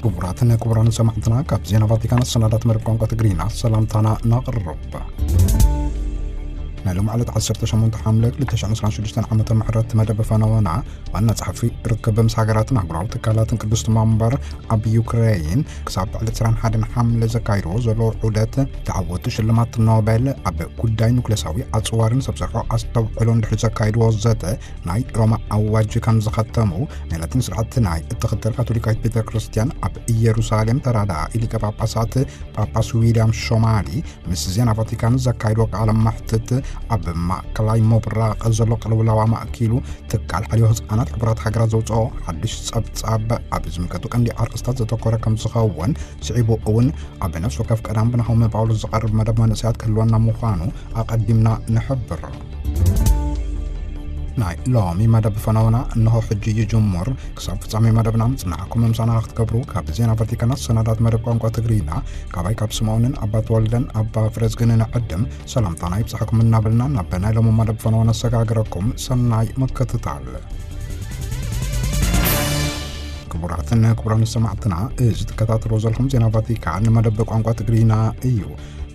ክቡራትን ክቡራን ሰማዕትና፣ ካብ ዜና ቫቲካን ኣሰናዳት መደብ ቋንቋ ትግርኛ ሰላምታና ነቕርብ። ናይ ሎም ዕለት ዓሰርተ ሸሞንተ ሓምለ ክልተ ሽሕን ዕስራን ሽዱሽተን ዓመተ ምሕረት መደብ ፈነወና ዋና ጸሓፊ ርክብ ምስ ሃገራትን ኣህጉራዊ ትካላትን ቅድስቲ መንበር ኣብ ዩክሬን ክሳብ ዕለት ዕስራን ሓደን ሓምለ ዘካይድዎ ዘሎ ዑደት ተዓወቱ ሽልማት ኖቤል ኣብ ጉዳይ ኑክሌሳዊ ኣጽዋርን ሰብ ሰርሖ ኣስተውዕሎን ድሕሪ ዘካይድዎ ዘተ ናይ ሮማ ኣዋጅ ከም ዝኸተሙ ናይ ላቲን ስርዓት ናይ እትኽተል ካቶሊካዊት ቤተ ክርስቲያን ኣብ ኢየሩሳሌም ተራዳኢ ሊቀ ጳጳሳት ጳጳስ ዊልያም ሾማሊ ምስ ዜና ቫቲካን ዘካይድዎ ቃለ መሕትት ኣብ ማእከላይ ምብራቕ ዘሎ ቅልውላው ኣማእኪሉ ትካል ሓልዮ ህፃናት ሕቡራት ሃገራት ዘውፅኦ ሓድሽ ፀብፃብ ኣብ ዝምልከቱ ቀንዲ ኣርእስታት ዘተኮረ ከም ዝኸውን ስዒቡ እውን ኣብ ነፍሲ ወከፍ ቀዳም ብናሆመ ጳውሎስ ዝቐርብ መደብ መንእሰያት ክህልወና ምዃኑ ኣቐዲምና ንሕብር። ናይ ሎሚ መደብ ፈነውና እንሆ ሕጂ ይጅምር። ክሳብ ፍጻሜ መደብና ምጽናዕኩም ምሳና ክትገብሩ ካብ ዜና ቫቲካን ኣሰናዳት መደብ ቋንቋ ትግርኛ ካባይ ካብ ስምዖንን ኣባ ተወልደን ኣባ ፍረዝግን ንዕድም ሰላምታና ይብጻሕኩም እናበልና ናብ ናይ ሎሚ መደብ ፈነው ነሰጋግረኩም። ሰናይ ምክትታል። ክቡራትን ክቡራን ሰማዕትና፣ እዚ ትከታተልዎ ዘለኹም ዜና ቫቲካን መደብ ቋንቋ ትግርኛ እዩ።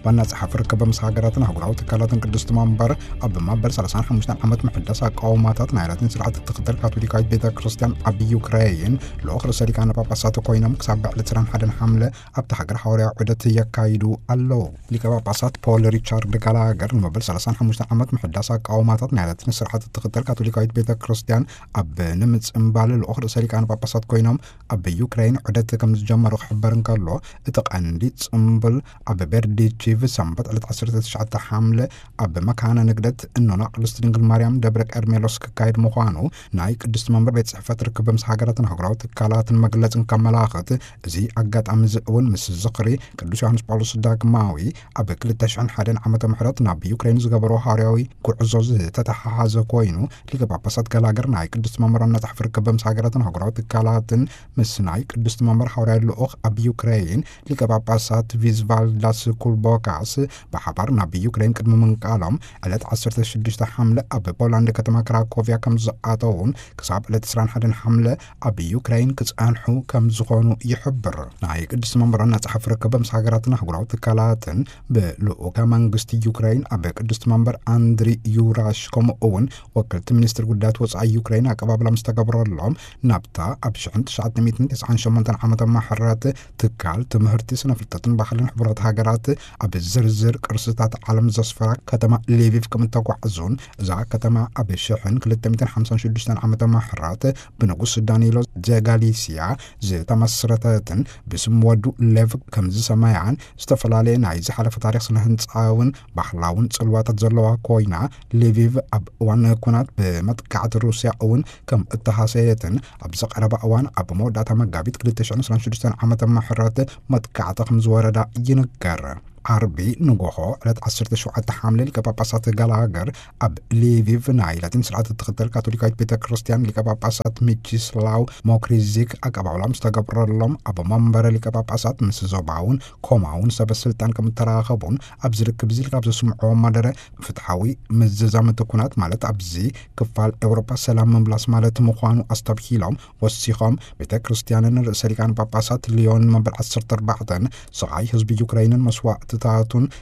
ዋና ጸሓፊ ርክብ ምስ ሃገራትን ኣህጉራዊ ትካላትን ቅድስቲ መንበር ኣብ መበል ሰላሳን ሓሙሽተን ዓመት ምሕዳስ ኣቃውማታት ናይ ላቲን ስርዓት እትኽተል ካቶሊካዊት ቤተ ክርስቲያን ኣብ ዩክሬን ልኡኽ ርእሰ ሊቃነ ጳጳሳት ኮይኖም ክሳብ በዓል ዕስራን ሓደን ሓምለ ኣብቲ ሃገር ሃዋርያዊ ዑደት የካይዱ ኣለዉ። ሊቀ ጳጳሳት ፖል ሪቻርድ ጋላገር ንመበል ሰላሳን ሓሙሽተን ዓመት ምሕዳስ ኣቃውማታት ናይ ላቲን ስርዓት እትኽተል ካቶሊካዊት ቤተ ክርስቲያን ኣብ ንምጽንባል ልኡኽ ርእሰ ሊቃነ ጳጳሳት ኮይኖም ኣብ ዩክሬን ዑደት ከም ዝጀመሩ ክሕበር እንከሎ፣ እቲ ቀንዲ ጽምብል ኣብ ቤርዲቺቭ ሰንበት ዕለት ዓሰርተ ትሽዓተ ሓምለ ኣብ መካነ ንግደት እኖና ቅድስት ድንግል ማርያም ደብረ ቀርሜሎስ ክካየድ ምዃኑ ናይ ቅድስቲ መንበር ቤት ጽሕፈት ርክብ ምስ ሃገራትን ኣህጉራዊ ትካላትን መግለጽ እንከመላኽት፣ እዚ ኣጋጣሚ እዚ እውን ምስ ዝኽሪ ቅዱስ ዮሃንስ ጳውሎስ ዳግማዊ ኣብ ክልተ ሽሕን ሓደን ዓመተ ምሕረት ናብ ዩክሬን ዝገበሮ ሃዋርያዊ ጉዕዞ ዝተተሓሓዘ ኮይኑ፣ ሊቀ ጳጳሳት ጋላገር ናይ ቅድስቲ መንበር ዋና ጸሓፊ ርክብ ምስ ሃገራትን ኣህጉራዊ ትካላትን ምስ ናይ ቅድስቲ መንበር ሃዋርያዊ ልኡኽ ኣብ ዩክሬን ሊቀ ጳጳሳት ቪዝቫልዳስ ኩልቦካስ ብሓባር ናብ ዩክሬን ቅድሚ ምንቃሎም፣ ዕለት ዓሰርተ ሽዱሽተ ሓምለ ኣብ ፖላንድ ከተማ ክራኮቭያ ከም ዝኣተዉን ክሳብ ዕለት ዕስራን ሓደን ሓምለ ኣብ ዩክሬን ክጸንሑ ከም ዝኾኑ ይሕብር። ናይ ቅድስቲ መንበር ዋና ጸሓፊ ርክብ ምስ ሃገራትን ኣህጉራዊ ትካላትን ብልኡከ መንግስቲ ዩክሬን ኣብ ቅድስቲ መንበር ኣንድሪ ዩራሽ፣ ከምኡ እውን ወከልቲ ሚኒስትር ጉዳያት ወጻኢ ዩክሬን ኣቀባብላ ምስ ተገብረሎም፣ ናብታ ኣብ ሽሕን ትሽዓተ ሚእትን ተስዓን ሸሞንተን ዓመተ ምሕረት ትካል ትምህርቲ፣ ስነ ፍልጠትን ባህልን ሕቡራት ሃገራት ኣብ ዝርዝር ቅርስታት ዓለም ዘስፈራ ከተማ ሊቪቭ ከም እተጓዕዙን፣ እዛ ከተማ ኣብ ሽሕን ክልተ ሚእትን ሓምሳን ሽዱሽተን ዓመተ ምሕረት ብንጉስ ዳኒሎ ዘጋሊስያ ዝተመስረተትን ብስም ወዱ ሌቭ ከም ዝሰመያን ዝተፈላለየ ናይ ዝሓለፈ ታሪኽ ስነ ህንጻውን ባህላውን ጽልዋታት ዘለዋ ኮይና፣ ሊቪቭ ኣብ እዋን ኩናት ብመጥቃዕቲ ሩስያ እውን ከም እተሃሰየትን ኣብዚ ቀረባ እዋን ኣብ መወዳእታ መጋቢት ክልተ ሽሕን ዕስራን ሽዱሽተን ዓመተ ምሕረት መጥቃዕቲ ከም ዝወረዳ ይንገር። ዓርቢ ንጎሆ ዕለት ዓሰርተ ሸውዓተ ሓምለ ሊቀ ጳጳሳት ጋላገር ኣብ ሊቪቭ ናይ ላቲን ስርዓት እትኽተል ካቶሊካዊት ቤተ ክርስቲያን ሊቀ ጳጳሳት ሚቺስላው ሞክሪዚክ ኣቀባብላ ምስ ተገብረሎም፣ ኣብ መንበረ ሊቀ ጳጳሳት ምስ ዞባውን ኮማውን ሰበ ስልጣን ከም እተራኸቡን ኣብዚ ርክብ እዚ ካብ ዘስምዕዎ መደረ ፍትሓዊ ምዝዛም እቲ ኩናት ማለት ኣብዚ ክፋል ኤውሮጳ ሰላም ምምላስ ማለት ምዃኑ ኣስተብሂሎም፣ ወሲኾም ቤተ ክርስቲያንን ርእሰ ሊቃነ ጳጳሳት ሊዮን መበል ዓሰርተ ኣርባዕተን ስቓይ ህዝቢ ዩክሬንን መስዋእትታቱን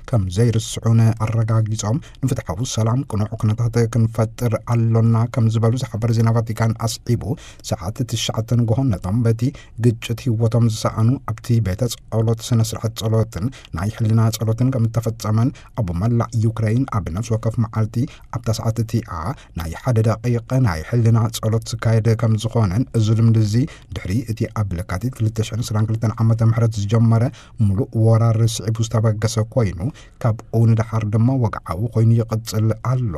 ከም ዘይርስዑን ኣረጋጊጾም፣ ንፍትሓዊ ሰላም ቅኑዕ ኩነታት ክንፈጥር ኣሎና ከም ዝበሉ ዝሓበር ዜና ቫቲካን ኣስዒቡ፣ ሰዓት ትሽዓተ ንግሆ ነቶም በቲ ግጭት ህይወቶም ዝሰኣኑ ኣብቲ ቤተ ጸሎት ስነ ስርዓት ጸሎትን ናይ ሕልና ጸሎትን ከም እተፈጸመን፣ ኣብ መላእ ዩክሬን ኣብ ነፍሲ ወከፍ መዓልቲ ኣብታ ሰዓት እቲኣ ናይ ሓደ ደቂቕ ናይ ሕልና ጸሎት ዝካየድ ከም ዝኾነን፣ እዚ ልምዲ እዚ ድሕሪ እቲ ኣብ ለካቲት ክልተ ሽሕን ዕስራን ክልተን ዓመተ ምሕረት ዝጀመረ ምሉእ ወራር ስዒቡ ዝተበገሰ ኮይኑ፣ ካብኡ ንደሓር ድማ ወግዓዊ ኮይኑ ይቕጽል ኣሎ።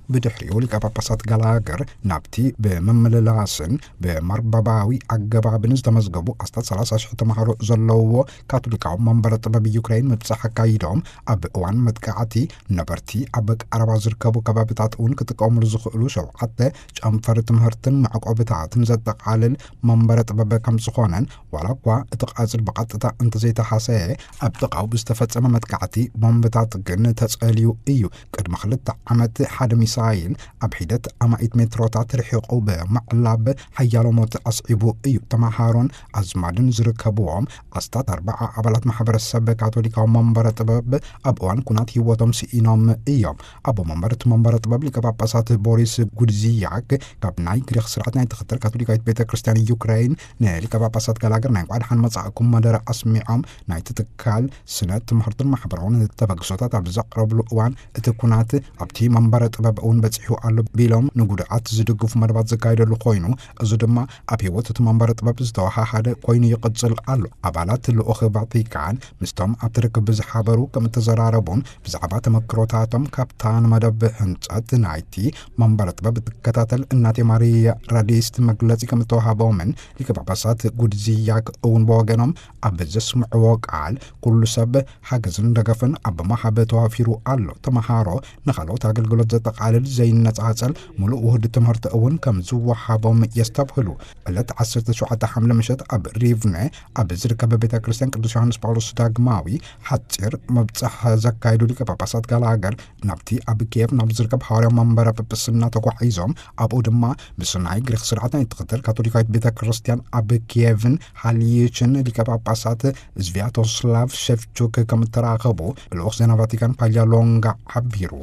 ብድሕሪኡ ሊቀ ጳጳሳት ጋላገር ናብቲ ብምምልላስን ብመርበባዊ ኣገባብን ዝተመዝገቡ ኣስታት ሰላሳ ሽሕ ተምሃሮ ዘለውዎ ካቶሊካዊ መንበረ ጥበብ ዩክሬን ምብጻሕ ኣካይዶም፣ ኣብ እዋን መጥቃዕቲ ነበርቲ ኣብ ቀረባ ዝርከቡ ከባቢታት እውን ክጥቀሙሉ ዝኽእሉ ሸውዓተ ጨንፈር ትምህርትን መዕቆብታትን ዘጠቓልል መንበረ ጥበብ ከም ዝኾነን፣ ዋላ እኳ እቲ ቃጽል ብቐጥታ እንተዘይተሃሰየ፣ ኣብ ጥቓኡ ብዝተፈጸመ መጥቃዕቲ ቦምብታት ግን ተጸልዩ እዩ። ቅድሚ ክልተ ዓመት ሓደ ሚሳይል ስታይል ኣብ ሒደት ኣማኢት ሜትሮታት ርሒቑ ብምዕላብ ሓያሎ ሞት ኣስዒቡ እዩ። ተመሃሮን ኣዝማድን ዝርከብዎም ኣስታት ኣርባዓ ኣባላት ማሕበረሰብ ካቶሊካዊ መንበረ ጥበብ ኣብ እዋን ኩናት ህይወቶም ስኢኖም እዮም። ኣቦ መንበር እቲ መንበረ ጥበብ ሊቀ ጳጳሳት ቦሪስ ጉድዚያክ ካብ ናይ ግሪኽ ስርዓት ናይ ትኽተል ካቶሊካዊት ቤተ ክርስቲያን ዩክሬን ንሊቀ ጳጳሳት ጋላገር ናይ እንኳዕ ደሓን መጻእኩም መደረ ኣስሚዖም ናይቲ ትካል ስነ ትምህርትን ማሕበራውን ተበግሶታት ኣብ ዘቕረብሉ እዋን እቲ ኩናት ኣብቲ መንበረ ጥበብ እውን በጺሑ ኣሎ ቢሎም ንጉድኣት ዝድግፉ መደባት ዘካየደሉ ኮይኑ እዚ ድማ ኣብ ህይወት እቲ መንበረ ጥበብ ዝተወሃሃደ ኮይኑ ይቕጽል ኣሎ። ኣባላት ልኡኽ ቫቲካን ምስቶም ኣብቲ ርክብ ብዝሓበሩ ከም እተዘራረቡን ብዛዕባ ተመክሮታቶም ካብታ ንመደብ ህንጸት ናይቲ መንበረ ጥበብ እትከታተል እናቴ ማሪያ ራዲስት መግለጺ ከም እተዋሃቦምን ሊቀ ጳጳሳት ጉድዚያክ እውን ብወገኖም ኣብ ዘስምዕዎ ቃል ኩሉ ሰብ ሓገዝን ደገፍን ኣብ መሃብ ተዋፊሩ ኣሎ። ተመሃሮ ንኻልኦት ኣገልግሎት ዘጠቓልል ዘይነጻጸል ምሉእ ውህድ ትምህርቲ እውን ከም ዝወሃቦም የስተብህሉ። ዕለት ዓሰርተ ሸውዓተ ሓምለ ምሸት ኣብ ሪቭነ ኣብ ዝርከብ ቤተ ክርስቲያን ቅዱስ ዮሃንስ ጳውሎስ ዳግማዊ ሓጺር መብጽሕ ዘካየዱ ሊቀ ጳጳሳት ጋላገር ናብቲ ኣብ ኪየቭ ናብ ዝርከብ ሃዋርያ መንበረ ጵጵስና ተጓዒዞም ኣብኡ ድማ ምስ ናይ ግሪክ ስርዓት ናይ ትኽተል ካቶሊካዊት ቤተ ክርስቲያን ኣብ ኪየቭን ሃልይችን ሊቀ ጳጳሳት ስቪያቶስላቭ ሸፍቹክ ከም እተራኸቡ ልኡኽ ዜና ቫቲካን ፓልያ ሎንጋ ሓቢሩ።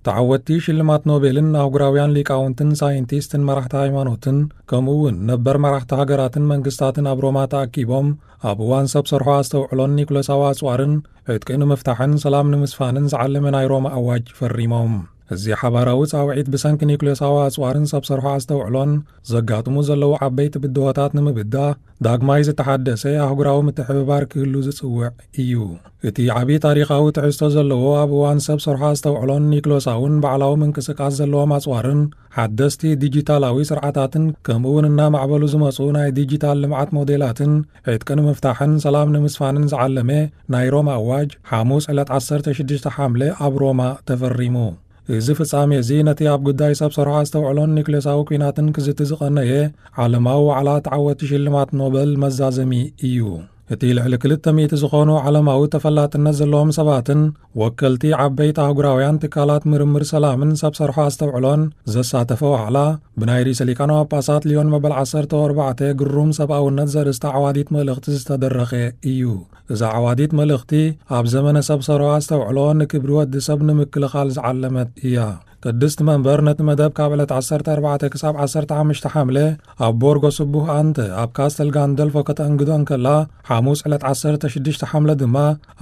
ተዓወትቲ ሽልማት ኖቤልን ኣህጉራውያን ሊቃውንትን ሳይንቲስትን መራሕቲ ሃይማኖትን ከምኡ እውን ነበር መራሕቲ ሃገራትን መንግስታትን ኣብ ሮማ ተኣኪቦም ኣብ እዋን ሰብ ሰርሖ ኣስተውዕሎን ኒኩለሳዊ ኣጽዋርን ዕጥቂ ንምፍታሕን ሰላም ንምስፋንን ዝዓለመ ናይ ሮማ ኣዋጅ ፈሪሞም። እዚ ሓባራዊ ጻውዒት ብሰንኪ ኒኩለሳዊ ኣጽዋርን ሰብ ሰርሖ ኣስተውዕሎን ዘጋጥሙ ዘለዉ ዓበይቲ ብድሆታት ንምብዳህ ዳግማይ ዝተሓደሰ ኣህጉራዊ ምትሕብባር ክህሉ ዝጽውዕ እዩ። እቲ ዓቢ ታሪኻዊ ትሕዝቶ ዘለዎ ኣብ እዋን ሰብ ሰርሖ ኣስተውዕሎን ኒክሎሳውን ባዕላዊ ምንቅስቃስ ዘለዎም ኣጽዋርን ሓደስቲ ዲጂታላዊ ስርዓታትን ከምኡ እውን እናማዕበሉ ዝመጹ ናይ ዲጂታል ልምዓት ሞዴላትን ዕጥቂ ንምፍታሕን ሰላም ንምስፋንን ዝዓለመ ናይ ሮማ ኣዋጅ ሓሙስ ዕለት ዓሰርተ ሽዱሽተ ሓምለ ኣብ ሮማ ተፈሪሙ። እዚ ፍጻሜ እዚ ነቲ ኣብ ጉዳይ ሰብ ሰርሖ ኣስተውዕሎን ኒክሌሳዊ ኲናትን ክዝቲ ዝቐነየ ዓለማዊ ዋዕላ ተዓወቲ ሽልማት ኖበል መዛዘሚ እዩ። እቲ ልዕሊ ክልተ ሚእቲ ዝኾኑ ዓለማዊ ተፈላጥነት ዘለዎም ሰባትን ወከልቲ ዓበይቲ ኣህጉራውያን ትካላት ምርምር ሰላምን ሰብ ሰርሖ ኣስተውዕሎን ዘሳተፈ ዋዕላ ብናይ ርእሰ ሊቃነ ጳጳሳት ሊዮን መበል ዓሰርተ ኣርባዕተ ግሩም ሰብኣውነት ዘርእስታ ዓዋዲት መልእኽቲ ዝተደረኸ እዩ። እዛ ዓዋዲት መልእኽቲ ኣብ ዘመነ ሰብ ሰርሖ ኣስተውዕሎ ንክብሪ ወዲ ሰብ ንምክልኻል ዝዓለመት እያ። ቅድስቲ መንበር ነቲ መደብ ካብ ዕለት ዓሰርተ ኣርባዕተ ክሳብ ዓሰርተ ሓሙሽተ ሓምለ ኣብ ቦርጎ ስቡህ ኣንተ ኣብ ካስተል ጋንደልፎ ከተእንግዶ እንከላ፣ ሓሙስ ዕለት ዓሰርተ ሽዱሽተ ሓምለ ድማ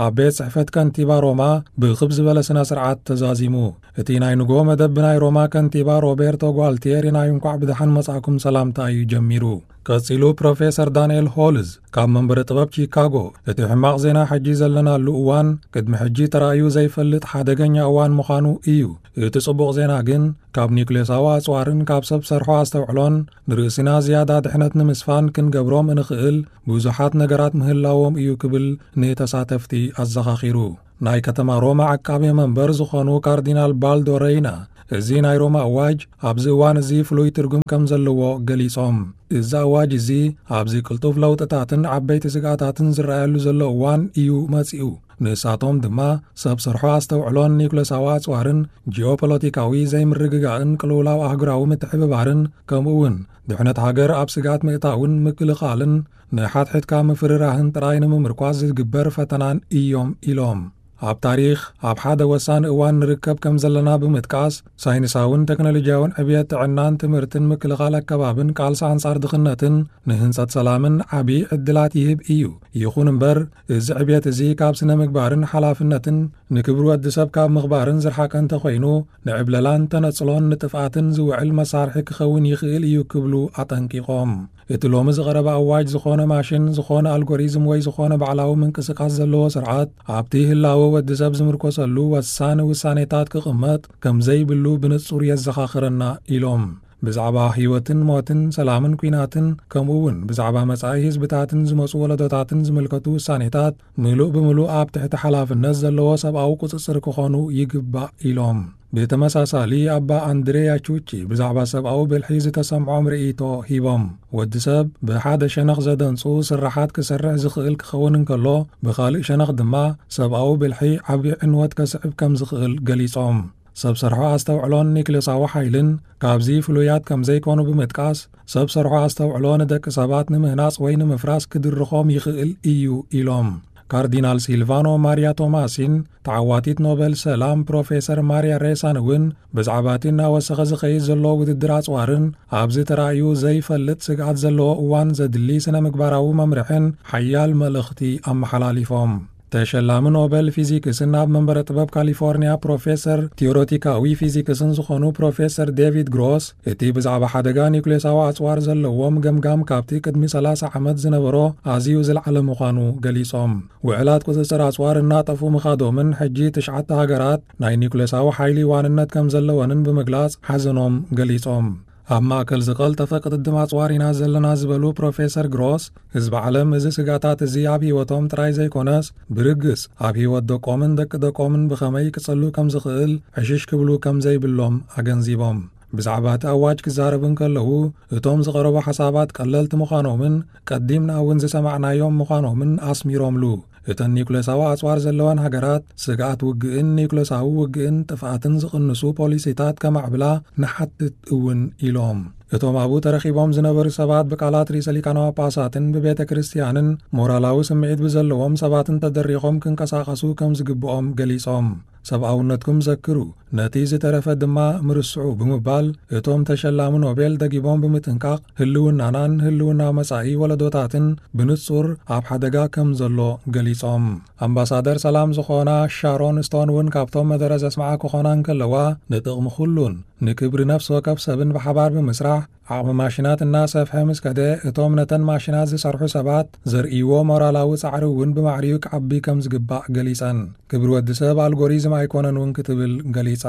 ኣብ ቤት ጽሕፈት ከንቲባ ሮማ ብኽብ ዝበለ ስነ ስርዓት ተዛዚሙ። እቲ ናይ ንግሆ መደብ ብናይ ሮማ ከንቲባ ሮቤርቶ ጓልቲየሪ ናይ እንኳዕ ብደሓን መጻእኩም ሰላምታ እዩ ጀሚሩ። ቀጺሉ ፕሮፌሰር ዳንኤል ሆልዝ ካብ መንበረ ጥበብ ቺካጎ፣ እቲ ሕማቕ ዜና ሕጂ ዘለናሉ እዋን ቅድሚ ሕጂ ተራእዩ ዘይፈልጥ ሓደገኛ እዋን ምዃኑ እዩ። እቲ ጽቡቕ ዜና ግን ካብ ኒውክሌሳዊ ኣጽዋርን ካብ ሰብ ሰርሖ ኣስተውዕሎን ንርእስና ዝያዳ ድሕነት ንምስፋን ክንገብሮም እንኽእል ብዙሓት ነገራት ምህላዎም እዩ ክብል ንተሳተፍቲ ኣዘኻኺሩ። ናይ ከተማ ሮማ ዓቃቤ መንበር ዝኾኑ ካርዲናል ባልዶ ረይና፣ እዚ ናይ ሮማ ኣዋጅ ኣብዚ እዋን እዚ ፍሉይ ትርጉም ከም ዘለዎ ገሊጾም። እዚ ኣዋጅ እዚ ኣብዚ ቅልጡፍ ለውጥታትን ዓበይቲ ስግኣታትን ዝረኣየሉ ዘሎ እዋን እዩ መጺኡ። ንሳቶም ድማ ሰብ ሰርሖ ኣስተውዕሎን ኒውክለሳዊ ኣጽዋርን ጂኦፖለቲካዊ ዘይምርግጋእን ቅልውላው ኣህጉራዊ ምትሕብባርን ከምኡ እውን ድሕነት ሃገር ኣብ ስግኣት ምእታውን ምክልኻልን ንሓድሕድካ ምፍርራህን ጥራይ ንምምርኳስ ዝግበር ፈተናን እዮም ኢሎም። ኣብ ታሪኽ ኣብ ሓደ ወሳኒ እዋን ንርከብ ከም ዘለና ብምጥቃስ፣ ሳይንሳውን ቴክኖሎጂያውን ዕብየት ጥዕናን ትምህርትን ምክልኻል ኣከባብን ቃልሲ ኣንጻር ድኽነትን ንህንጸት ሰላምን ዓቢ ዕድላት ይህብ እዩ። ይኹን እምበር፣ እዚ ዕብየት እዚ ካብ ስነ ምግባርን ሓላፍነትን ንክብሪ ወዲ ሰብ ካብ ምኽባርን ዝረሓቀ እንተኾይኑ፣ ንዕብለላን ተነጽሎን ንጥፍኣትን ዝውዕል መሳርሒ ክኸውን ይኽእል እዩ ክብሉ ኣጠንቂቖም። እቲ ሎሚ ዝቐረበ ኣዋጅ ዝኾነ ማሽን፣ ዝኾነ ኣልጎሪዝም ወይ ዝኾነ ባዕላዊ ምንቅስቃስ ዘለዎ ስርዓት ኣብቲ ህላወ ወዲ ሰብ ዝምርኮሰሉ ወሳኒ ውሳኔታት ክቕመጥ ከም ዘይብሉ ብንጹር የዘኻኽረና ኢሎም። ብዛዕባ ህይወትን ሞትን፣ ሰላምን ኲናትን፣ ከምኡ እውን ብዛዕባ መጻኢ ህዝብታትን ዝመጹ ወለዶታትን ዝምልከቱ ውሳኔታት ምሉእ ብምሉእ ኣብ ትሕቲ ሓላፍነት ዘለዎ ሰብኣዊ ቁጽጽር ክኾኑ ይግባእ ኢሎም። ብተመሳሳሊ ኣባ ኣንድሬያ ቹቺ ብዛዕባ ሰብኣዊ ብልሒ ዝተሰምዖም ርእይቶ ሂቦም። ወዲ ሰብ ብሓደ ሸነኽ ዘደንጹ ስራሓት ክሰርሕ ዝኽእል ክኸውን እንከሎ፣ ብኻልእ ሸነኽ ድማ ሰብኣዊ ብልሒ ዓቢ ዕንወት ከስዕብ ከም ዝኽእል ገሊጾም። ሰብ ሰርሖ ኣስተውዕሎን ኒክሌሳዊ ሓይልን ካብዚ ፍሉያት ከም ዘይኮኑ ብምጥቃስ፣ ሰብ ሰርሖ ኣስተውዕሎ ንደቂ ሰባት ንምህናጽ ወይ ንምፍራስ ክድርኾም ይኽእል እዩ ኢሎም። ካርዲናል ሲልቫኖ ማሪያ ቶማሲን ተዓዋቲት ኖበል ሰላም ፕሮፌሰር ማሪያ ሬሳን እውን ብዛዕባ እቲ እናወሰኸ ዝኸይድ ዘሎ ውድድር ኣጽዋርን ኣብዚ ተራእዩ ዘይፈልጥ ስግኣት ዘለዎ እዋን ዘድሊ ስነ ምግባራዊ መምርሕን ሓያል መልእኽቲ ኣመሓላሊፎም። ተሸላሚ ኖበል ፊዚክስን ኣብ መንበረ ጥበብ ካሊፎርኒያ ፕሮፌሰር ቲዮሬቲካዊ ፊዚክስን ዝኾኑ ፕሮፌሰር ዴቪድ ግሮስ፣ እቲ ብዛዕባ ሓደጋ ኒውክሌሳዊ ኣጽዋር ዘለዎም ገምጋም ካብቲ ቅድሚ ሰላሳ ዓመት ዝነበሮ ኣዝዩ ዝለዓለ ምዃኑ ገሊጾም። ውዕላት ቁጽጽር ኣጽዋር እናጠፉ ምኻዶምን ሕጂ ትሽዓተ ሃገራት ናይ ኒውክሌሳዊ ሓይሊ ዋንነት ከም ዘለወንን ብምግላጽ ሓዘኖም ገሊጾም። ኣብ ማእከል ዝቐልጠፈ ቅድድም ኣጽዋር ኢና ዘለና ዝበሉ ፕሮፌሰር ግሮስ፣ ህዝቢ ዓለም እዚ ስጋታት እዚ ኣብ ህይወቶም ጥራይ ዘይኮነስ፣ ብርግጽ ኣብ ህይወት ደቆምን ደቂ ደቆምን ብኸመይ ክጽሉ ከም ዝኽእል ዕሽሽ ክብሉ ከም ዘይብሎም ኣገንዚቦም። ብዛዕባ እቲ ኣዋጅ ክዛረቡ እንከለዉ፣ እቶም ዝቐረቡ ሓሳባት ቀለልቲ ምዃኖምን ቀዲምና እውን ዝሰማዕናዮም ምዃኖምን ኣስሚሮምሉ። እተን ኒውክሌሳዊ ኣጽዋር ዘለወን ሃገራት ስግኣት ውግእን ኒውክሌሳዊ ውግእን ጥፍኣትን ዝቕንሱ ፖሊሲታት ከማዕብላ ንሓትት እውን ኢሎም። እቶም ኣብኡ ተረኺቦም ዝነበሩ ሰባት ብቃላት ርእሰ ሊቃነ ጳጳሳትን ብቤተ ክርስቲያንን ሞራላዊ ስምዒት ብዘለዎም ሰባትን ተደሪኾም ክንቀሳቐሱ ከም ዝግብኦም ገሊጾም። ሰብኣውነትኩም ዘክሩ፣ ነቲ ዝተረፈ ድማ ምርስዑ ብምባል እቶም ተሸላሚ ኖቤል ደጊሞም ብምጥንቃቕ ህልውናናን ህልውና መጻኢ ወለዶታትን ብንጹር ኣብ ሓደጋ ከም ዘሎ ገሊጾም። ኣምባሳደር ሰላም ዝኾና ሻሮን ስቶን እውን ካብቶም መደረ ዘስምዓ ክኾና እንከለዋ፣ ንጥቕሚ ኩሉን ንክብሪ ነፍሲ ወከፍ ሰብን ብሓባር ብምስራሕ ዓቕሚ ማሽናት እናሰፍሐ ምስ ከደ፣ እቶም ነተን ማሽናት ዝሰርሑ ሰባት ዘርእይዎ ሞራላዊ ጻዕሪ እውን ብማዕሪኡ ክዓቢ ከም ዝግባእ ገሊጸን። ክብሪ ወዲ ሰብ ኣልጎሪዝም ኣይኮነን እውን ክትብል ገሊጻ።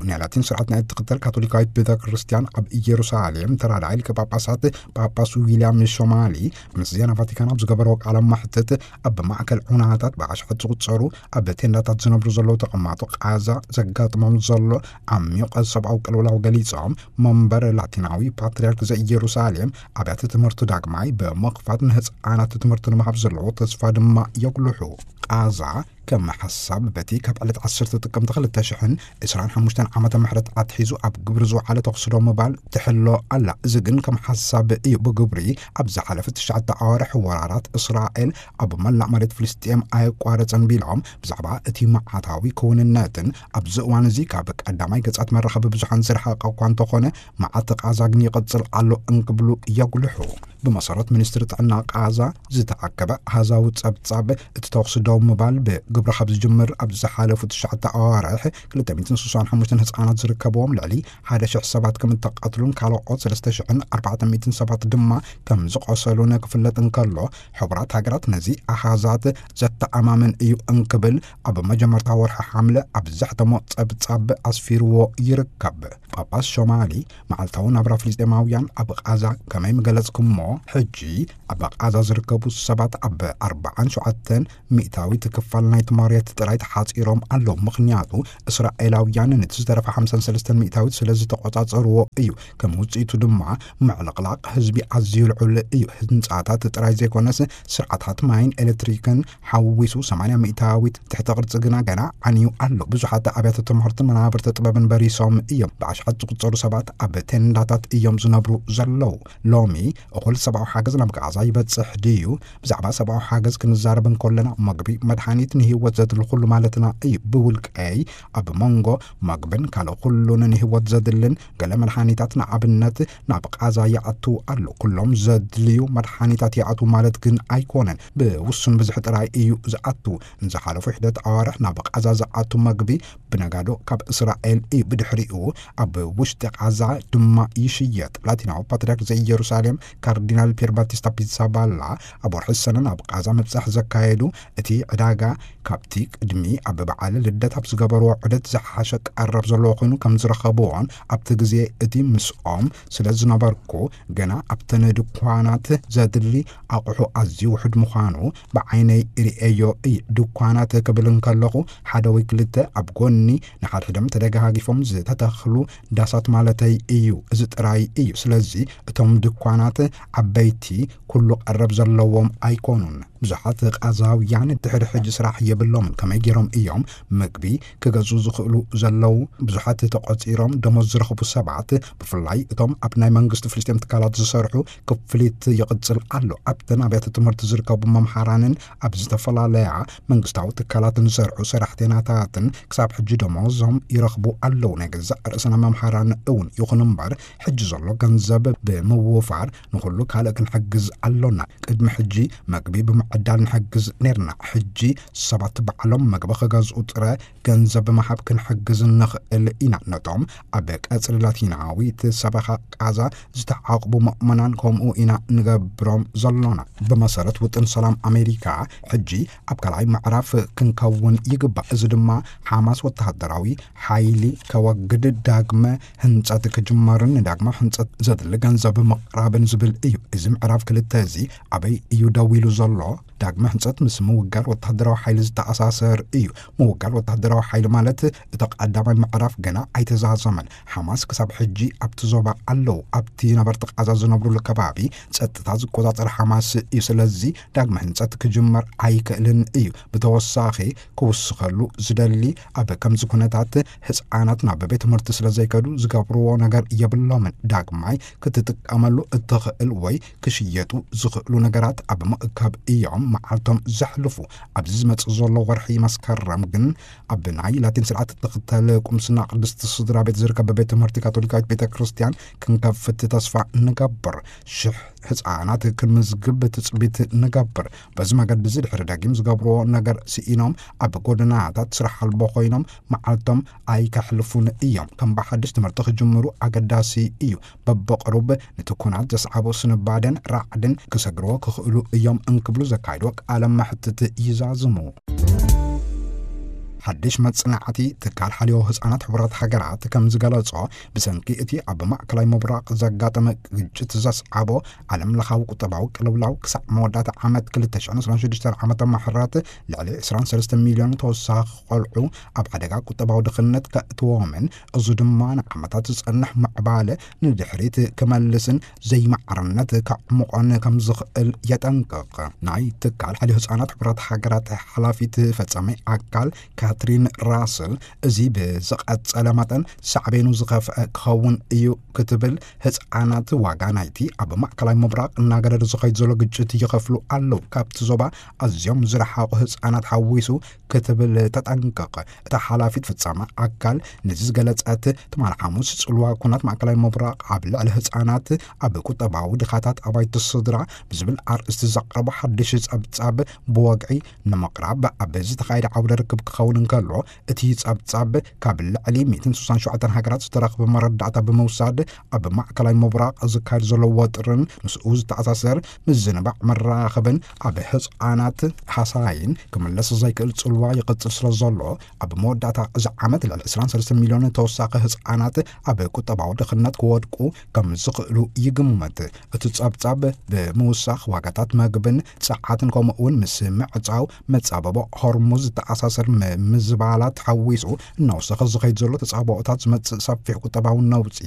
ናይ ላቲን ስርዓት ናይ እትኽተል ካቶሊካዊት ቤተ ክርስቲያን ኣብ ኢየሩሳሌም ተራዳኢ ሊቀ ጳጳሳት ጳጳስ ዊልያም ሾማሊ ምስ ዜና ቫቲካን ኣብ ዝገበርዎ ቃለ ማሕትት፣ ኣብ ማእከል ዑናታት ብኣሽሓት ዝቑጸሩ ኣብ ቴንዳታት ዝነብሩ ዘለዉ ተቐማጦ ቃዛ ዘጋጥሞም ዘሎ ዓሚቕ ሰብኣዊ ቅልውላው ገሊጾም፣ መንበር ላቲናዊ ፓትርያርክ ዘኢየሩሳሌም ኣብያተ ትምህርቲ ዳግማይ ብምኽፋት ንህጻናት ትምህርቲ ንምሃብ ዘለዎ ተስፋ ድማ የጉልሑ። ቃዛ ከም ሓሳብ በቲ ካብ ዕለት ዓሰርተ ጥቅምቲ ክልተ ሽሕን ዕስራን ሓሙሽተን ዓመተ ምሕረት ኣትሒዙ ኣብ ግብሪ ዝወዓለ ተኹሲ ደው ምባል ትሕሎ ኣላ። እዚ ግን ከም ሓሳብ እዩ። ብግብሪ ኣብ ዝሓለፈ ትሽዓተ ኣዋርሕ ወራራት እስራኤል ኣብ መላእ መሬት ፍልስጤም ኣየቋረጸን ቢሎም፣ ብዛዕባ እቲ መዓታዊ ክውንነትን ኣብዚ እዋን እዚ ካብ ቀዳማይ ገጻት መራኸቢ ብዙሓን ዝረሓቐ እኳ እንተኾነ፣ መዓት ቃዛ ግን ይቕጽል ኣሎ እንክብሉ የጉልሑ። ብመሰረት ሚኒስትሪ ጥዕና ቃዛ ዝተኣከበ ኣሃዛዊ ጸብጻብ፣ እቲ ተኹሲ ደው ምባል ብግብሪ ካብ ዝጅምር ኣብ ዝሓለፉ ትሽዓተ ኣዋርሕ ክልተ ሚእትን ስሳን ሓሙሽተን ህጻናት ዝርከብዎም ልዕሊ ሓደ ሽሕ ሰባት ከም እተቐትሉን ካልኦት ሰለስተ ሽሕን ኣርባዕተ ሚእትን ሰባት ድማ ከም ዝቖሰሉን ክፍለጥ እንከሎ፣ ሕቡራት ሃገራት ነዚ ኣሃዛት ዘተኣማምን እዩ እንክብል ኣብ መጀመርታ ወርሒ ሓምለ ኣብ ዘሕተሞ ጸብጻብ ኣስፊርዎ ይርከብ። ጳጳስ ሾማሊ መዓልታዊ ናብራ ፍልስጤማውያን ኣብ ቃዛ ከመይ ምገለጽኩሞ፣ ሕጂ ኣብ ቃዛ ዝርከቡ ሰባት ኣብ ኣርባዓን ሸውዓተን ሚእታዊት ክፋል ናይቲ መሬት ጥራይ ተሓጺሮም ኣለዉ። ምኽንያቱ እስራኤላውያን ነቲ ዝተረፈ ሓምሳን ሰለስተን ሚእታዊት ስለ ዝተቖጻጸርዎ እዩ። ከም ውጽኢቱ ድማ ምዕልቕላቕ ህዝቢ ኣዝዩ ልዑል እዩ። ህንጻታት ጥራይ ዘይኮነስ ስርዓታት ማይን ኤሌክትሪክን ሓዊሱ ሰማንያ ሚእታዊት ትሕተ ቅርጺ ግና ገና ዓንዩ ኣሎ። ብዙሓት ኣብያተ ትምህርትን መናብርተ ጥበብን በሪሶም እዮም። ብኣሽሓት ዝቑጸሩ ሰባት ኣብ ቴንዳታት እዮም ዝነብሩ ዘለዉ። ሎሚ እኹል ሰብኣዊ ሓገዝ ናብ ጋዛ ይበጽሕ ድዩ? ብዛዕባ ሰብኣዊ ሓገዝ ክንዛረብ እንከለና፣ መግቢ፣ መድሃኒት፣ ንህይወት ዘድሊ ኩሉ ማለትና እዩ። ብውልቀይ፣ ኣብ መንጎ መግብን ካልእ ኩሉን ንህይወት ዘድልን ገለ መድሃኒታት፣ ንኣብነት፣ ናብ ቃዛ ይኣቱ ኣሎ። ኩሎም ዘድልዩ መድሃኒታት ይኣቱ ማለት ግን ኣይኮነን። ብውሱን ብዝሒ ጥራይ እዩ ዝኣቱ። ንዝሓለፉ ሒደት ኣዋርሕ ናብ ቃዛ ዝኣቱ መግቢ ብነጋዶ ካብ እስራኤል እዩ። ብድሕሪኡ ኣብ ውሽጢ ቃዛ ድማ ይሽየጥ። ላቲናዊ ፓትርያርክ ዘኢየሩሳሌም ካርዲናል ፒየር ባቲስታ ፒዛባላ ኣብ ወርሒ ሰነ ናብ ቃዛ ምብጻሕ ዘካየዱ፣ እቲ ዕዳጋ ካብቲ ቅድሚ ኣብ በዓል ልደት ኣብ ዝገበርዎ ዑደት ዝሓሸ ቀረብ ዘለዎ ኮይኑ ከም ዝረኸብዎን፣ ኣብቲ ግዜ እቲ ምስኦም ስለ ዝነበርኩ፣ ገና ኣብተን ድኳናት ዘድሊ ኣቑሑ ኣዝዩ ውሑድ ምዃኑ ብዓይነይ ርእየዮ እየ። ድኳናት ክብል እንከለኹ፣ ሓደ ወይ ክልተ ኣብ ጎኒ ንሓድሕዶም ተደጋጊፎም ዝተተኽሉ ዳሳት ማለተይ እዩ። እዚ ጥራይ እዩ። ስለዚ እቶም ድኳናት ዓበይቲ ኩሉ ቀረብ ዘለዎም ኣይኮኑን። ብዙሓት ቃዛውያን ድሕሪ ሕጂ ስራሕ የብሎምን። ከመይ ገይሮም እዮም ምግቢ ክገዝኡ ዝኽእሉ ዘለዉ? ብዙሓት ተቖጺሮም ደሞዝ ዝረኽቡ ሰባት፣ ብፍላይ እቶም ኣብ ናይ መንግስቲ ፍልስጤም ትካላት ዝሰርሑ፣ ክፍሊት ይቕጽል ኣሎ። ኣብተን ኣብያተ ትምህርቲ ዝርከቡ መምሃራንን ኣብ ዝተፈላለያ መንግስታዊ ትካላትን ዝሰርሑ ሰራሕተኛታትን ክሳብ ሕጂ ደሞዞም ይረኽቡ ኣለዉ። ናይ ገዛእ ርእስና መምሃራን እውን። ይኹን እምበር፣ ሕጂ ዘሎ ገንዘብ ብምውፋር ንኹሉ ካልእ ክንሕግዝ ኣሎና። ቅድሚ ሕጂ መግቢ ብምዕዳል ንሕግዝ ኔርና። ሕጂ ሰባት ባዕሎም መግቢ ክገዝኡ ጥረ ገንዘብ ብምሃብ ክንሕግዝ ንኽእል ኢና። ነቶም ኣብ ቀጽሪ ላቲናዊት ሰበኻ ቃዛ ዝተዓቕቡ መእመናን ከምኡ ኢና ንገብሮም ዘሎና። ብመሰረት ውጥን ሰላም ኣሜሪካ፣ ሕጂ ኣብ ካልኣይ ምዕራፍ ክንከውን ይግባእ። እዚ ድማ ሓማስ ወተሃደራዊ ሓይሊ ከወግድ፣ ዳግመ ህንጸት ክጅመርን ንዳግመ ህንጸት ዘድሊ ገንዘብ ምቕራብን ዝብል እዩ። እዚ ምዕራፍ ክልተ እዚ ኣበይ እዩ ደው ኢሉ ዘሎ? ዳግመ ህንጸት ምስ ምውጋድ ወተሃደራዊ ሓይሊ ዝተኣሳሰር እዩ። ምውጋድ ወተሃደራዊ ሓይሊ ማለት እቲ ቀዳማይ ምዕራፍ ገና ኣይተዛዘመን። ሓማስ ክሳብ ሕጂ ኣብቲ ዞባ ኣለዉ። ኣብቲ ነበርቲ ቃዛ ዝነብሩሉ ከባቢ ጸጥታ ዝቆጻጸር ሓማስ እዩ። ስለዚ ዳግመ ህንጸት ክጅመር ኣይክእልን እዩ። ብተወሳኺ ክውስኸሉ ዝደሊ፣ ኣብ ከምዚ ኩነታት ህጻናት ናብ ቤት ትምህርቲ ስለ ዘይከዱ ዝገብርዎ ነገር የብሎምን። ዳግማይ ክትጥቀመሉ እትኽእል ወይ ክሽየጡ ዝኽእሉ ነገራት ኣብ ምእካብ እዮም መዓልቶም ዘሕልፉ። ኣብዚ ዝመጽእ ዘሎ ወርሒ መስከረም ግን ኣብ ናይ ላቲን ስርዓት እትኽተል ቁምስና ቅድስቲ ስድራ ቤት ዝርከብ ቤት ትምህርቲ ካቶሊካዊት ቤተ ክርስቲያን ክንከፍት ተስፋ ንገብር። ሽሕ ህጻናት ክንምዝግብ ትጽቢት ንገብር። በዚ መገዲ እዚ ድሕሪ ደጊም ዝገብርዎ ነገር ስኢኖም ኣብ ጎደናታት ስራሕ ኣልቦ ኮይኖም መዓልቶም ኣይከሕልፉን እዮም። ከም ብሓድሽ ትምህርቲ ክጅምሩ ኣገዳሲ እዩ። በብቕሩብ ነቲ ኩናት ዘስዓቦ ስንባደን ራዕድን ክሰግርዎ ክኽእሉ እዮም እንክብሉ ዘካይድዎ ቃለ መሕትት ይዛዝሙ። ሓድሽ መጽናዕቲ ትካል ሓልዮ ህጻናት ሕቡራት ሃገራት ከም ዝገለጾ፣ ብሰንኪ እቲ ኣብ ማእከላይ ምብራቕ ዘጋጠመ ግጭት ዘስዓቦ ዓለም ለኻዊ ቁጠባዊ ቅልውላው፣ ክሳዕ መወዳእታ ዓመት ክልተ ሽሕን ዕስራን ሽዱሽተን ዓመተ ምሕረት ልዕሊ ዕስራን ሰለስተን ሚልዮን ተወሳኺ ቆልዑ ኣብ ሓደጋ ቁጠባዊ ድኽነት ከእትዎምን፣ እዚ ድማ ንዓመታት ዝጸንሕ ምዕባለ ንድሕሪት ክመልስን ዘይማዕርነት ከዕምቖን ከም ዝኽእል የጠንቅቕ። ናይ ትካል ሓልዮ ህጻናት ሕቡራት ሃገራት ሓላፊት ፈጻሚ ኣካል ካትሪን ራስል፣ እዚ ብዝቐጸለ መጠን ሳዕቤኑ ዝኸፍአ ክኸውን እዩ ክትብል፣ ህጻናት ዋጋ ናይቲ ኣብ ማእከላይ ምብራቕ እናገደደ ዝኸይድ ዘሎ ግጭት ይኸፍሉ ኣለዉ፣ ካብቲ ዞባ ኣዝዮም ዝረሓቑ ህጻናት ሓዊሱ ክትብል ተጠንቅቕ። እታ ሓላፊት ፍጻመ ኣካል ነዚ ዝገለጸት፣ ትማሊ ሓሙስ ጽልዋ ኩናት ማእከላይ ምብራቕ ኣብ ልዕሊ ህጻናት ኣብ ቁጠባዊ ድኻታት ኣባይቲ ስድራ ብዝብል ኣርእስቲ ዘቕረቦ ሓድሽ ጸብጻብ ብወግዒ ንምቕራብ ኣብ ዝተኻየደ ዓውደ ርክብ ክኸውን እንከሎ፣ እቲ ጸብጻብ ካብ ልዕሊ ሚእትን ስሳን ሸውዓተን ሃገራት ዝተረኽበ መረዳእታ ብምውሳድ፣ ኣብ ማእከላይ ምብራቕ ዝካየድ ዘሎ ወጥርን ምስኡ ዝተኣሳሰር ምዝንባዕ መራኸብን ኣብ ህጻናት ሃሳይን ክምለስ ዘይክእል ጽልዋ ይቕጽል ስለ ዘሎ፣ ኣብ መወዳእታ እዚ ዓመት ልዕሊ ዕስራን ሰለስተን ሚልዮን ተወሳኺ ህጻናት ኣብ ቁጠባዊ ድኽነት ክወድቁ ከም ዝኽእሉ ይግመት። እቲ ጸብጻብ ብምውሳኽ ዋጋታት መግብን ጸዓትን ከምኡ እውን ምስ ምዕጻው መጻበቦ ሆርሙዝ ዝተኣሳሰር ም-፣ ምዝባላት ሓዊሱ እናወሰኸ ዝኸይድ ዘሎ ተጻብኦታት ዝመጽእ ሰፊሕ ቁጠባዊ ነውጺ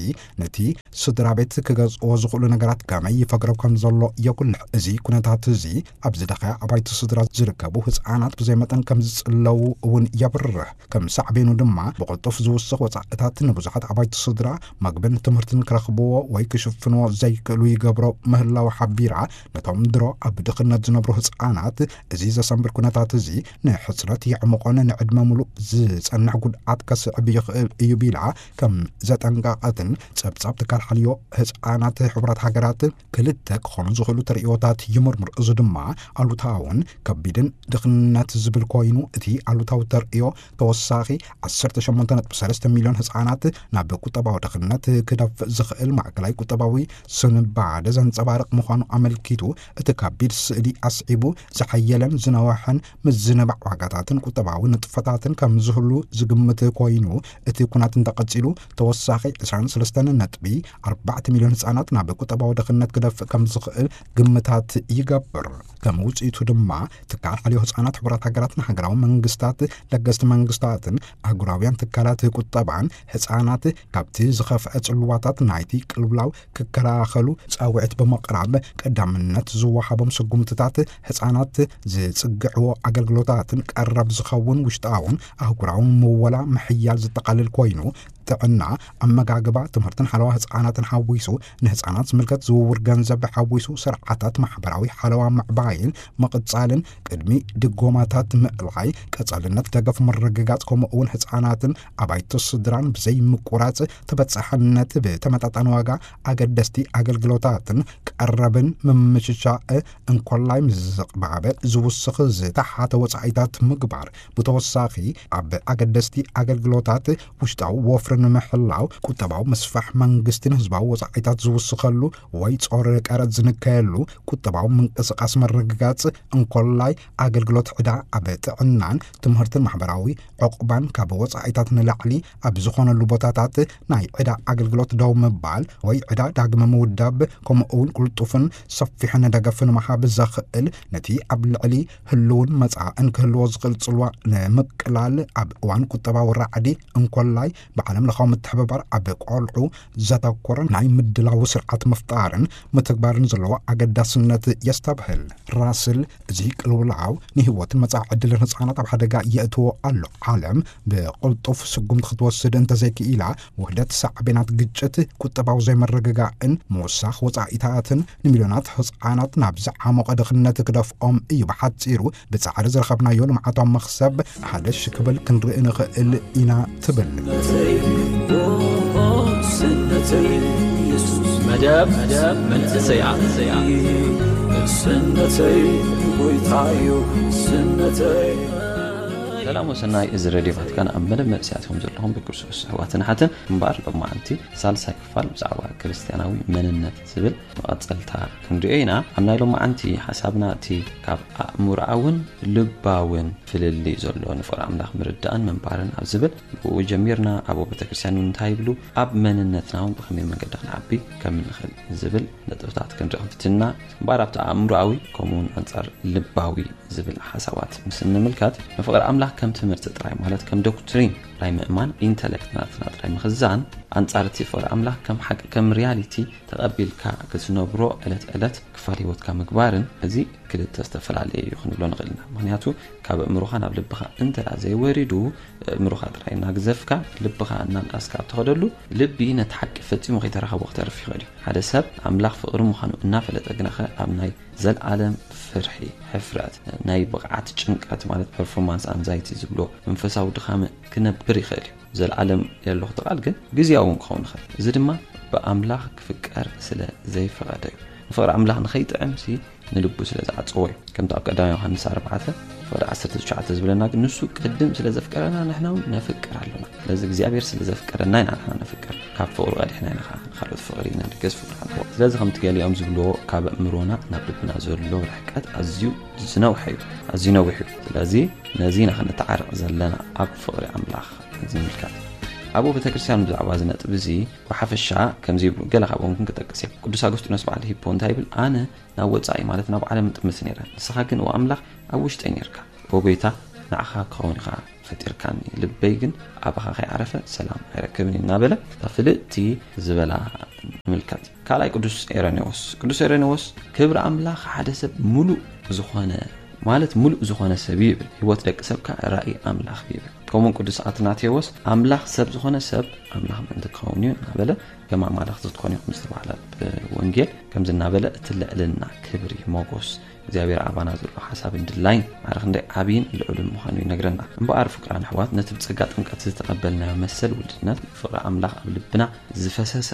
ነቲ ስድራ ቤት ክገዝእዎ ዝኽእሉ ነገራት ከመይ ይፈግረብ ከም ዘሎ የጉልሕ። እዚ ኩነታት እዚ ኣብ ዝደኸያ ኣባይቲ ስድራ ዝርከቡ ህጻናት ብዘይ መጠን ከም ዝጽለዉ እውን የብርህ። ከም ሳዕቤኑ ድማ ብቕልጡፍ ዝውስኽ ወጻእታት ንብዙሓት ኣባይቲ ስድራ መግብን ትምህርትን ክረኽብዎ ወይ ክሽፍንዎ ዘይክእሉ ይገብሮ ምህላው ሓቢራ፣ ነቶም ድሮ ኣብ ድኽነት ዝነብሩ ህጻናት እዚ ዘሰንብድ ኩነታት እዚ ንሕጽረት የዕምቖን ንዕድመ ሙሉእ ዝጸንሕ ጉድኣት ከስዕብ ይኽእል እዩ ቢላ ከም ዘጠንቀቐትን ጸብጻብ ትካል ሓልዮ ህጻናት ሕቡራት ሃገራት ክልተ ክኾኑ ዝኽእሉ ተርእዮታት ይምርምር። እዚ ድማ ኣሉታውን ከቢድን ድኽነት ዝብል ኮይኑ፣ እቲ ኣሉታዊ ተርእዮ ተወሳኺ ዓሰርተ ሸሞንተ ነጥቢ ሰለስተ ሚልዮን ህጻናት ናብ ቁጠባዊ ድኽነት ክደፍእ ዝኽእል ማእከላይ ቁጠባዊ ስንባደ ዘንጸባርቕ ምዃኑ ኣመልኪቱ፣ እቲ ከቢድ ስእሊ ኣስዒቡ፣ ዝሓየለን ዝነውሐን ምዝንባዕ ዋጋታትን ቁጠባዊ ንጥፈ ተሳትፎታትን ከም ዝህሉ ዝግምት ኮይኑ፣ እቲ ኩናት እንተቐጺሉ ተወሳኺ ዕስራን ሰለስተን ነጥቢ ኣርባዕተ ሚልዮን ህጻናት ናብ ቁጠባዊ ድኽነት ክደፍእ ከም ዝኽእል ግምታት ይገብር። ከም ውጽኢቱ ድማ ትካል ሓልዮ ህጻናት ሕቡራት ሃገራትን ሃገራዊ መንግስታት ለገስቲ መንግስታትን ኣህጉራውያን ትካላት ቁጠባን ህጻናት ካብቲ ዝኸፍአ ጽልዋታት ናይቲ ቅልውላው ክከላኸሉ ጻውዒት ብምቕራብ፣ ቀዳምነት ዝወሃቦም ስጉምትታት ህጻናት ዝጽግዕዎ ኣገልግሎታትን ቀረብ ዝኸውን ውሽጣውን ኣህጉራውን ምወላ ምሕያል ዝጠቓልል ኮይኑ፣ ጥዕና፣ ኣመጋግባ፣ ትምህርትን ሓለዋ ህጻናትን ሓዊሱ፣ ንህጻናት ዝምልከት ዝውውር ገንዘብ ሓዊሱ፣ ስርዓታት ማሕበራዊ ሓለዋ ምዕባይን ምቕጻልን፣ ቅድሚ ድጎማታት ምእላይ፣ ቀጻልነት ደገፍ ምርግጋጽ፣ ከምኡ እውን ህጻናትን ኣባይቲ ስድራን ብዘይ ምቁራጽ ተበጻሕነት ብተመጣጣኒ ዋጋ ኣገደስቲ ኣገልግሎታትን ቀረብን ምምችቻእ እንኮላይ ምስ ዝቕባበ ዝውስኽ ዝተሓተ ወጻኢታት ምግባር። ብተወሳኺ ኣብ ኣገደስቲ ኣገልግሎታት ውሽጣዊ ወፍሪ ንምሕላው ቁጠባዊ ምስፋሕ መንግስትን ህዝባዊ ወጻኢታት ዝውስኸሉ ወይ ጾር ቀረጽ ዝንከየሉ ቁጠባዊ ምንቅስቃስ ምርግጋጽ እንኮላይ ኣገልግሎት ዕዳ ኣብ ጥዕናን ትምህርትን ማሕበራዊ ዕቑባን ካብ ወጻኢታት ንላዕሊ ኣብ ዝኾነሉ ቦታታት ናይ ዕዳ ኣገልግሎት ደው ምባል ወይ ዕዳ ዳግመ ምውዳብ፣ ከምኡ እውን ቅልጡፍን ሰፊሕን ደገፍ ንምሃብ ዘኽእል፣ ነቲ ኣብ ልዕሊ ህልውን መጻእን ክህልዎ ዝኽእል ጽልዋ ንምቅላል ኣብ እዋን ቁጠባዊ ራዕዲ እንኮላይ ብዓለም ለኻዊ ምትሕብባር ኣብ ቆልዑ ዘተኮረ ናይ ምድላው ስርዓት ምፍጣርን ምትግባርን ዘለዎ ኣገዳስነት የስተብህል። ራስል፣ እዚ ቅልውላው ንህይወትን መጻኢ ዕድልን ህጻናት ኣብ ሓደጋ የእትዎ ኣሎ። ዓለም ብቕልጡፍ ስጉምቲ ክትወስድ እንተዘይክኢላ፣ ውህደት ሳዕቤናት ግጭት፣ ቁጠባዊ ዘይምርግጋእን ምውሳኽ ወጻኢታትን ንሚልዮናት ህጻናት ናብ ዝዓሞቐ ድኽነት ክደፍኦም እዩ። ብሓጺሩ፣ ብጻዕሪ ዝረኸብናዮ ልምዓታዊ መኽሰብ ሓደ ሽክብል ክንርኢ ንኽእል ኢና ትብል። መደብ መንእሰያት። ሰላም ወሰናይ፣ እዚ ሬድዮ ቫቲካን ኣብ መደብ መንእሰያት ኢኹም ዘለኹም ብክርስቶስ ኣሕዋትን ኣሓትን። እምበኣር ሎማዓንቲ ሳልሳይ ክፋል ብዛዕባ ክርስትያናዊ መንነት ዝብል መቐጸልታ ክንሪኦ ኢና። ኣብ ናይ ሎማዓንቲ ሓሳብና እቲ ካብ ኣእምሮኣውን ልባውን ፍልልይ ዘሎ ንፍቕሪ ኣምላኽ ምርዳእን ምንባርን ኣብ ዝብል ብኡ ጀሚርና። ኣብ ቤተ ክርስቲያን እንታይ ይብሉ፣ ኣብ መንነትና እውን ብኸመይ መንገዲ ክንዓቢ ከም እንኽእል ዝብል ነጥብታት ክንርኢ ክንፍትና። እምበኣር ኣብቲ ኣእምሮኣዊ ከምኡ እውን ኣንጻር ልባዊ ዝብል ሓሳባት ምስ እንምልከት፣ ንፍቕሪ ኣምላኽ ከም ትምህርቲ ጥራይ፣ ማለት ከም ዶክትሪን ጥራይ ምእማን፣ ኢንተለክት ናትና ጥራይ ምኽዛን፣ ኣንጻር እቲ ፍቕሪ ኣምላኽ ከም ሓቂ፣ ከም ሪያሊቲ ተቐቢልካ ክትነብሮ ዕለት ዕለት ክፋል ህይወትካ ምግባርን፣ እዚ ክልተ ዝተፈላለየ እዩ ክንብሎ ንኽእል ኢና። ምኽንያቱ ካብ ኣእምሮኻ ናብ ልብኻ እንተ ደኣ ዘይወሪዱ፣ ኣእምሮኻ ጥራይ እናግዘፍካ ልብኻ እናንኣስካ ኣብ ትኸደሉ፣ ልቢ ነቲ ሓቂ ፈጺሙ ከይተረኸቦ ክተርፍ ይኽእል እዩ። ሓደ ሰብ ኣምላኽ ፍቕሪ ምዃኑ እናፈለጠ ግናኸ ኣብ ናይ ዘለኣለም ፍርሒ፣ ሕፍረት፣ ናይ ብቕዓት ጭንቀት ማለት ፐርፎርማንስ ኣንዛይቲ ዝብሎ መንፈሳዊ ድኻም ክነብር ይኽእል እዩ። ዘለኣለም የለኹ እቲ ቃል ግን ግዝያዊ እውን ክኸውን ይኽእል። እዚ ድማ ብኣምላኽ ክፍቀር ስለ ዘይፈቐደ እዩ። ንፍቕሪ ኣምላኽ ንኸይጥዕምሲ ንልቡ ስለ ዝዓጸዎ እዩ። ከምቲ ኣብ ቀዳማይ ዮሃንስ ኣርባዕተ ፍቕዲ ዓሰርተ ትሽዓተ ዝብለና ግን ንሱ ቅድም ስለ ዘፍቀረና ንሕና እውን ነፍቅር ኣሎና። ስለዚ እግዚኣብሔር ስለ ዘፍቀረና ኢና ንሕና ነፍቅር። ካብ ፍቕሩ ቀዲሕና ኢና ከዓ ንኻልኦት ፍቕሪ ኢና ንገዝ ፍቕሪ ኣልቦ። ስለዚ ከምቲ ገሊኦም ዝብልዎ ካብ ኣእምሮና ናብ ልብና ዘሎ ርሕቀት ኣዝዩ ዝነውሐ እዩ፣ ኣዝዩ ነዊሕ እዩ። ስለዚ ነዚ ኢና ክንተዓረቕ ዘለና ኣብ ፍቕሪ ኣምላኽ ዝምልከት። ኣብኡ ቤተ ክርስቲያን ብዛዕባ እዚ ነጥቢ እዚ ብሓፈሻ ከምዚ ይብሉ፣ ገለ ካብኦም ግን ክጠቅስ እየ። ቅዱስ ኣጉስጢኖስ በዓል ሂፖ እንታይ ይብል? ኣነ ናብ ወጻኢ ማለት ናብ ዓለም እጥምት ነይረ፣ ንስኻ ግን ኦ ኣምላኽ ኣብ ውሽጠይ ነርካ። ኦ ጎይታ ንዓኻ ክኸውን ኢኻ ፈጢርካኒ፣ ልበይ ግን ኣባኻ ከይዓረፈ ሰላም ኣይረክብን እዩ እናበለ እታ ፍልጥቲ ዝበላ ንምልከት። ካልኣይ ቅዱስ ኤረኔዎስ። ቅዱስ ኤረኔዎስ ክብሪ ኣምላኽ ሓደ ሰብ ሙሉእ ዝኾነ ማለት ሙሉእ ዝኾነ ሰብ እዩ ይብል። ህይወት ደቂ ሰብ ከኣ ራእይ ኣምላኽ እዩ ይብል። ከምኡ ቅዱስ ኣትናቴዎስ ኣምላኽ ሰብ ዝኾነ ሰብ ኣምላኽ ምእንቲ ክኸውን እዩ እናበለ ከም ኣማልኽቲ ትኾኑ ኢኹም ዝተባህለ ብወንጌል ከምዚ እናበለ እቲ ልዕልና ክብሪ ሞጎስ እግዚኣብሔር ኣባና ዘሎ ሓሳብን ድላይን ማዕረ ክንደይ ዓብይን ልዑልን ምዃኑ ይነግረና። እምበኣር ፍቅራን ኣሕዋት ነቲ ብጸጋ ጥምቀት ዝተቐበልናዮ መሰል ውልድነት ፍቅሪ ኣምላኽ ኣብ ልብና ዝፈሰሰ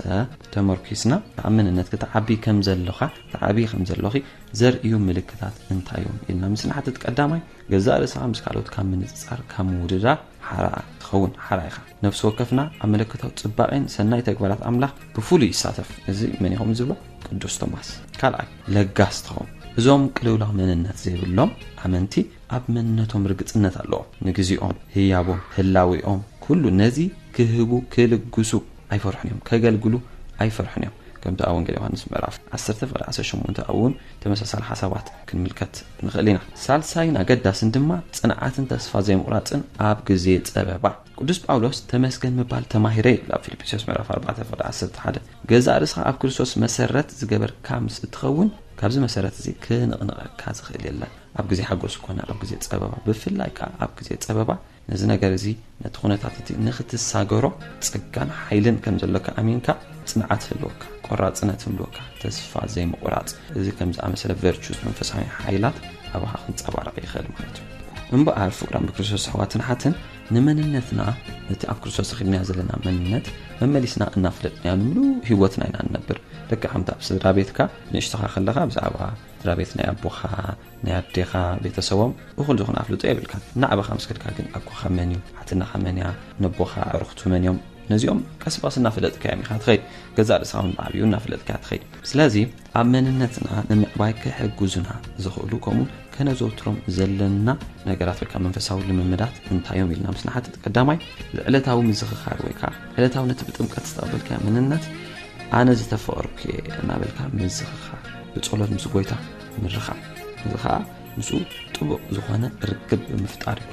ተመርኪስና ተኣምንነት ክትዓቢ ከም ዘሎኻ ትዓቢ ከም ዘሎኺ ዘርእዩ ምልክታት እንታይ እዮም ኢልና ምስ ንሓትት ቀዳማይ ገዛእ ርእስኻ ምስ ካልኦት ካብ ምንጽጻር ካብ ምውድዳር ሓራ ትኸውን ሓራ ኢኻ። ነፍሲ ወከፍና ኣብ መለኮታዊ ጽባቐን ሰናይ ተግባራት ኣምላኽ ብፍሉይ ይሳተፍ። እዚ መን ኢኹም ዝብሎ ቅዱስ ቶማስ። ካልኣይ ለጋስ ትኸውን። እዞም ቅልውላው መንነት ዘይብሎም ኣመንቲ ኣብ መንነቶም ርግጽነት ኣለዎም። ንግዚኦም፣ ህያቦም፣ ህላዊኦም፣ ኩሉ ነዚ ክህቡ፣ ክልግሱ ኣይፈርሑን እዮም። ከገልግሉ ኣይፈርሑን እዮም። ከምቲ ኣብ ወንጌል ዮሃንስ ምዕራፍ ዓሰርተ ፍቕዲ ዓሰርተ ሸሞንተ እውን ተመሳሳሊ ሓሳባት ክንምልከት ንኽእል ኢና። ሳልሳይን ኣገዳስን ድማ ጽንዓትን ተስፋ ዘይምቑራጽን ኣብ ግዜ ጸበባ። ቅዱስ ጳውሎስ ተመስገን ምባል ተማሂረ ይብል ኣብ ፊልጵስዩስ ምዕራፍ ኣርባዕተ ፍቕዲ ዓሰርተ ሓደ። ገዛእ ርእስኻ ኣብ ክርስቶስ መሰረት ዝገበርካ ምስ እትኸውን ካብዚ መሰረት እዚ ክንቕንቐካ ዝኽእል የለን። ኣብ ግዜ ሓጎስ ኮነ ኣብ ግዜ ጸበባ፣ ብፍላይ ከኣ ኣብ ግዜ ጸበባ ነዚ ነገር እዚ ነቲ ኩነታት እቲ ንኽትሳገሮ ጸጋን ሓይልን ከም ዘለካ ኣሚንካ ጽንዓት ህልወካ፣ ቆራጽነት ህልወካ፣ ተስፋ ዘይምቑራጽ፣ እዚ ከም ዝኣመሰለ ቨርቹስ መንፈሳዊ ሓይላት ኣባኻ ክንጸባረቕ ይኽእል ማለት እዩ። እምበኣር ፍቕራን ብክርስቶስ ኣሕዋትን ሓትን ንመንነትና ነቲ ኣብ ክርስቶስ ረኺብናዮ ዘለና መንነት መመሊስና እናፍለጥናዮ ንምሉእ ህይወትና ኢና ንነብር። ደቂ ሓምታ ኣብ ስድራ ቤትካ ንእሽቶኻ ከለኻ ብዛዕባ ስድራ ቤት ናይ ኣቦኻ ናይ ኣዴኻ ቤተሰቦም እኹል ዝኾነ ኣፍልጦ የብልካን። እናዓበኻ ምስ ከድካ ግን ኣኮኻ መን እዩ፣ ሓትናኻ መን እያ፣ ነቦኻ ኣዕሩኽቱ መን እዮም፣ ነዚኦም ቀስ ብቐስ እናፈለጥካዮም ኢኻ ትኸይድ። ገዛእ ርእስኻ እውን ብዓብዩ እናፈለጥካ ትኸይድ። ስለዚ ኣብ መንነትና ንምዕባይ ክሕግዙና ዝኽእሉ ከምኡ ከነዘውትሮም ዘለና ነገራት ወይ ከዓ መንፈሳዊ ልምምዳት እንታይ እዮም ኢልና ምስ ንሓትት፣ ቀዳማይ ዕለታዊ ምዝኽኻር ወይ ከዓ ዕለታዊ ነቲ ብጥምቀት ዝተቐበልካዮ መንነት ኣነ ዝተፈቐርኩ እየ እናበልካ ምዝኽኻር፣ ብጸሎት ምስ ጎይታ ምርኻብ፣ እዚ ከዓ ምስኡ ጥቡቕ ዝኾነ ርክብ ብምፍጣር እዩ።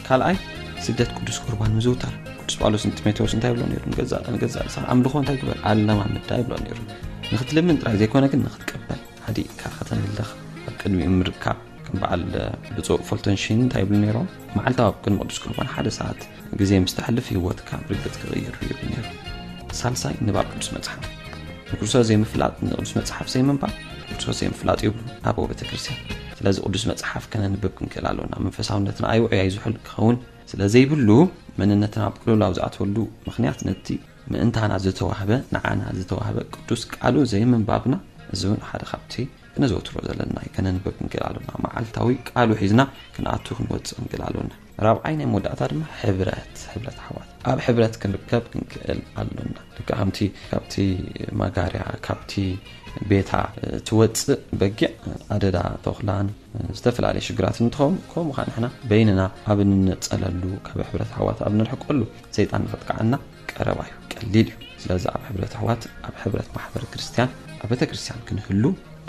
ካልኣይ፣ ስግደት ቅዱስ ቁርባን ምዝውታር። ቅዱስ ጳውሎስ ንጢሞቴዎስ እንታይ ይብሎ ነይሩ? ንገዛእ ንገዛእ ርእስኻ ኣምልኾ እንታይ ግበር? ኣለማምዳ ይብሎ ነይሩ። ንኽትልምን ጥራይ ዘይኮነ ግን ንኽትቀበል፣ ሃዲእካ ከተምልኽ፣ ኣብ ቅድሚኡ ምርካብ። ከም በዓል ብፁዕ ፎልተንሽን እንታይ ይብሉ ነይሮም? መዓልታዊ ኣብ ቅድሚ ቅዱስ ቁርባን ሓደ ሰዓት ግዜ ምስ ተሕልፍ ህይወትካ ብርግጽ ክቕይር እዩ ይብሉ ነይሮም። ሳልሳይ፣ ንባብ ቅዱስ መጽሓፍ። ንክርስቶስ ዘይምፍላጥ ንቅዱስ መጽሓፍ ዘይምንባብ ክርስቶስ ዘይምፍላጥ ይብሉ ኣበው ቤተ ክርስቲያን። ስለዚ ቅዱስ መጽሓፍ ከነንብብ ክንክእል ኣለና። መንፈሳውነትና ኣይውዑይ ኣይዝሑል ክኸውን ስለ ዘይብሉ፣ መንነትና ኣብ ቅልውላው ዝኣትወሉ ምኽንያት ነቲ ምእንታና ዝተዋህበ፣ ንዓና ዝተዋህበ ቅዱስ ቃሉ ዘይምንባብና፣ እዚ እውን ሓደ ካብቲ ክነዘውትሮ ዘለና እዩ። ከነንብብ ክንክእል ኣለና። መዓልታዊ ቃሉ ሒዝና ክንኣቱ ክንወጽእ ክንክእል ኣለና። ራብዓይ ናይ መወዳእታ ድማ ሕብረት፣ ሕብረት ኣሕዋት። ኣብ ሕብረት ክንርከብ ክንክእል ኣሎና። ልክዕ ከምቲ ካብቲ ማጋርያ፣ ካብቲ ቤታ ትወጽእ በጊዕ ኣደዳ ተኹላን ዝተፈላለየ ሽግራት እንትኸውን፣ ከምኡ ከዓ ንሕና በይንና ኣብ እንነጸለሉ፣ ካብ ሕብረት ኣሕዋት ኣብ ንርሕቀሉ፣ ሰይጣን ንኸጥቅዓና ቀረባ እዩ፣ ቀሊል እዩ። ስለዚ ኣብ ሕብረት ኣሕዋት፣ ኣብ ሕብረት ማሕበረ ክርስቲያን፣ ኣብ ቤተ ክርስቲያን ክንህሉ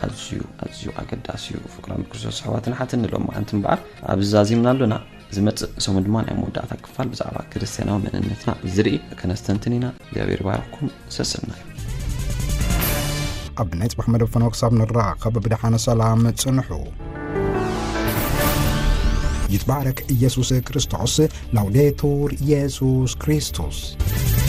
ኣዝዩ፣ ኣዝዩ ኣገዳሲ እዩ። ፍቅራን ብክርስቶስ ኣሕዋትን ሓትን ንሎማዓንቲ እምበኣር ኣብዚ ዛዚምና ኣሎና። ዝመጽእ ሰሙን ድማ ናይ መወዳእታ ክፋል ብዛዕባ ክርስትያናዊ መንነትና ዝርኢ ከነስተንትን ኢና። እግዚኣብሔር ይባርኽኩም። ሰሰናዩ። ኣብ ናይ ጽባሕ መደብ ፈነወ ክሳብ ንራኸብ ብደሓነ ሰላም ጽንሑ። ይትባረክ ኢየሱስ ክርስቶስ። ላውዴቱር ኢየሱስ ክርስቶስ።